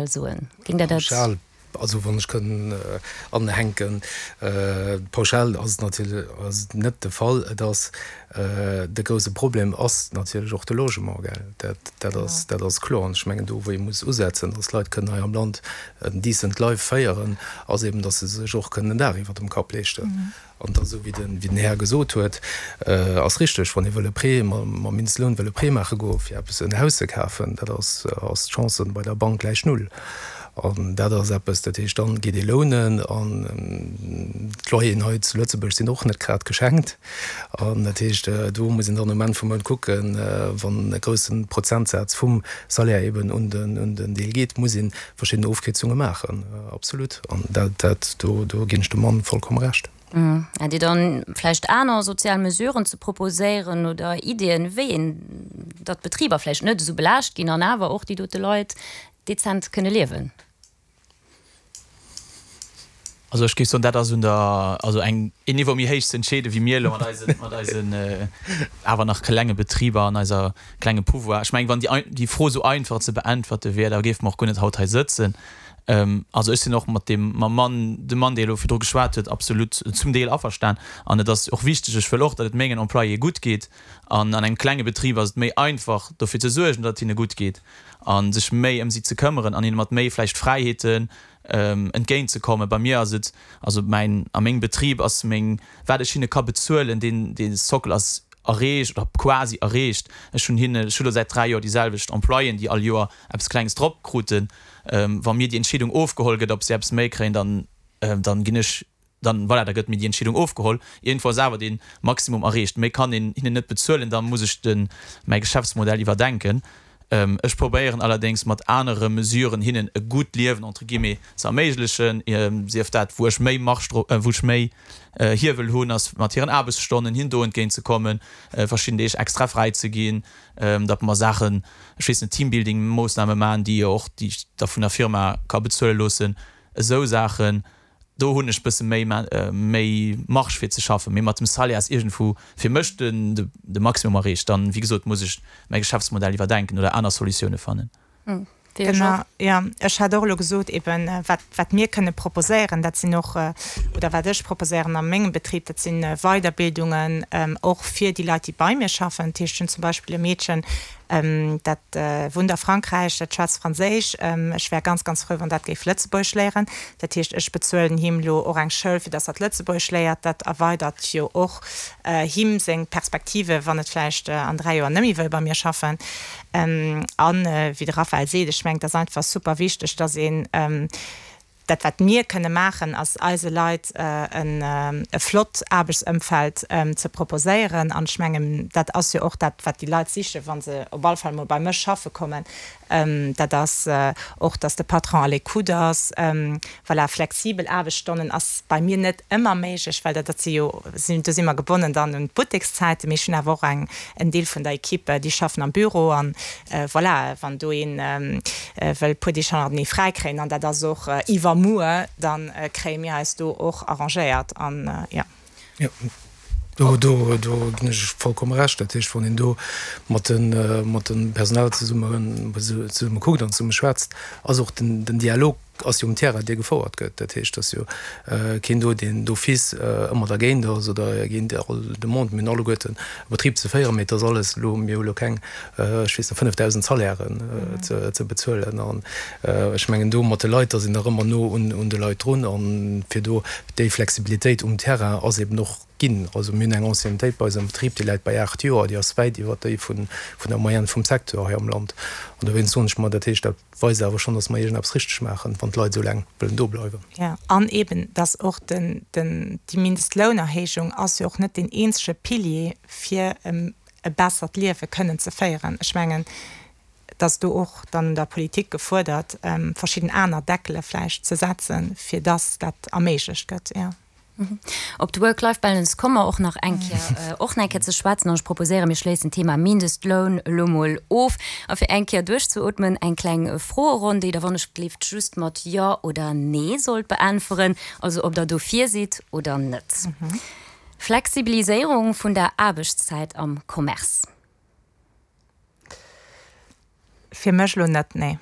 Soen? Géing Der dat. Pauschal, also wann ech kënn anhänken, pauschal ass et natierlech ass et net de Fall. Et ass de grouse Problem ass natierlech och de Logement, gell. Dat, dat ass, dat ass kloer. An ech mengen do wou ee muss usetzen, dass d'Leit kënnen hei am Land en decent life féieren, ass eben, dass se sech och kënnen en Daach iwwert dem Kapp leeschten. An da sou wéi den Här gesot huet, ass richteg, wann ee wëll e Prêt mam Mindestloun wëll e Prêt maache goe fir eppes en Haus ze kafen, dat ass ass d'Chance bei der Bank gläich null. An dat ass eppes, dat heescht, dann geet ee lounen an d'Loyeren hei zu Lëtzebuerg sinn och net grad geschenkt. An dat heescht, do muss een dann um Enn vum Mount kucken, wann e grousse Prozentsaz vum Salaire eben un den Deel geet, muss ee verschidden Ofkierzunge maachen, absolut. An dat, dat, do, do ginn ech dem Mann vollkomm Recht. Hätt Dir dann vläicht aner sozial Mesuren ze proposéieren oder Iddien, wéi een, datt d'Betriber vläicht net esou belaascht ginn an awer och déi dote Leit dezent kënne liewen? Also ech géif soen, dat ass un der, also eng, een Niveau méi héich ze entscheeden, wéi mir elo mat eisen, mat eisen awer nach klenge Betriber an eiser klenge Pouvoir. Ech mengen, wann déi, déi Fro esou einfach ze beäntwerte wier, da géife mer och guer net haut hei sëtzen. Also ech sinn och mat deem, mam Mann, dem Mann, dee elo virdru geschwat huet, absolut zum Deel averstan. An et ass och wichteg, ech wëll och, datt et mengen Employéë gutt geet. An an engem klenge Betrib ass et méi einfach, dofir ze suergen, datt et hinne gutt geet a sech méi ëm si ze këmmeren an hinne mat méi vläicht Fräiheeten entgéint ze kommen. Bei mir ass et, also mäin, a mengem Betrib ass meng, wat ech hinne ka bezuelen, deen, dee Sockel ass erreecht oder quasi erreecht. Ech hunn hinne, ech hu lo säit 3 Joer déi selwecht Employéen, déi all Joer eppes Klenges drop kruten. Wa mir déi Entscheedung ofgeholl gëtt, ob si eppes méi kréien, dann, dann ginn ech dann, voilà, da gëtt mir déi Entscheedung ofgeholl. Iergendwou ass awer dee Maximum erreecht. Méi kann een hinnen net bezuelen, da muss ech de mäi Geschäftsmodell iwwerdenken. Ech probéieren allerdéngs mat anere Mesuren hinnen e gutt Liewen, entre guillemets, ze erméiglechen, sief dat wou ech méi Marge dro, wou ech méi Hiewel hunn, ass mat hiren Aarbechtsstonnen hinnen do entgéint ze kommen, verschidden Deeg extra fräi ze ginn, datt mer Saachen, ech weess net, Teambuilding-Moossname maachen, déi jo och, déi ech da vun der Firma ka bezuele loossen, esou Saachen. Do hunn ech bësse méi méi Marge fir ze schaffen, mee mat dem Salaire ass iergendwou fir mech den de Maximum erreecht. Dann, wéi gesot, muss ech mäi Geschäftsmodell iwwerdenken oder aner Solutioune fannen. Genau, jo. Ech hat och elo gesot eben, wat wat mir kënne proposéieren, dat sinn och, oder wat ech proposéieren a mengem Betrib, dat si Weiderbildungen och fir déi Leit, déi bei mir schaffen. Dat heescht, ech hunn zum Beispill e Meedchen, Dat wunnt a Frankräich, dat schwätzt Franséisch. Ech wär ganz, ganz frou, wann dat géif Lëtzebuergesch léieren. Dat heescht, ech bezuelen him elo och eng Schoul, fir dass dat Lëtzebuergesch léiert. Dat erweidert jo och him seng Perspektive, wann et vläicht an 3 Joer net méi wëll bei mir schaffen. An, wéi de Raphaël seet, ech mengen, et ass einfach super wichteg, dass een, Dat wat mir kënne maachen, ass eise Leit e flott Aarbechtsëmfeld ze proposéieren. An ech mengen, dat ass jo och dat wat déi Leit sichen, wa se op alle Fall mol bei mech schaffe kommen. Dat ass och, datt de Patron à l'écoute ass. Voilà, flexibel Aarbechtsstonnen ass bei mir net ëmmer méiglech, well dat si jo, do si mer gebonnen dann un d'Buttekszäiten. Mee ech hunn awer och eng, en Deel vun der Equipe, déi schaffen am Büro an voilà, wann do een wëll e puer Deeg hannertenee fräi kréien, an dat ass och iwwermuer, da kréie mir eis do och arrangéiert an jo. Jo, do, do, do ginn ech vollkomme Recht. Dat heescht, wann een do mat de, mat dem Personal zesumme, zesumme kuckt an zesumme schwätzt, ass och den, den Dialog ass jo um Terrain, dee gefouert gëtt. Dat heescht, et ass jo keen do, deen d'office ëmmer dergéint ass oder géint all Demande. Mir hunn alleguerten e Betrib ze féieren, mee et ass alles elo, mir hu elo keng, ech weess net, 5.000 Salairen ze bezuelen. An ech mengen, do mat de Leit, da sinn der ëmmer no un de Leit drun. An fir do déi Flexibilitéit um Terrain ass eben och ginn. Also mir hunn eng Anciennetéit bei eis am Betrib, déi läit bei 8 Joer, déi ass wäit iwwert déi vun der Moyenne vum Secteur hei am Land. An dowéinst soen ech mer, dat heescht, dat weist awer schonn, dass mer iergendeppes richteg maachen, wann d'Leit esou laang wëllen do bleiwen. Jo, an eben, dass och den, den, déi Mindestlounerhéijung ass jo och net deen eenzege Pilier, fir e bessert Liewe kënnen ze féieren. Ech mengen, et ass do och dann un der Politik gefuerdert, verschidden aner Deckele vläicht ze setzen, fir dass dat erméiglecht gëtt, jo. Op d'Work-Life-Balance komme mer och nach eng Kéier, och nach eng Kéier ze schwätzen. An ech proposéieren, mir schléissen d'Thema Mindestloun elo mol of. A fir eng Kéier duerchzeootmen, eng kleng Froeronn, déi Der wann ech gleeft just mat Jo oder Nee sollt beäntweren, also ob Der dofir sidd oder net. Flexibiliséierung vun der Aarbechtszäit am Commerce. Fir mech elo net, nee.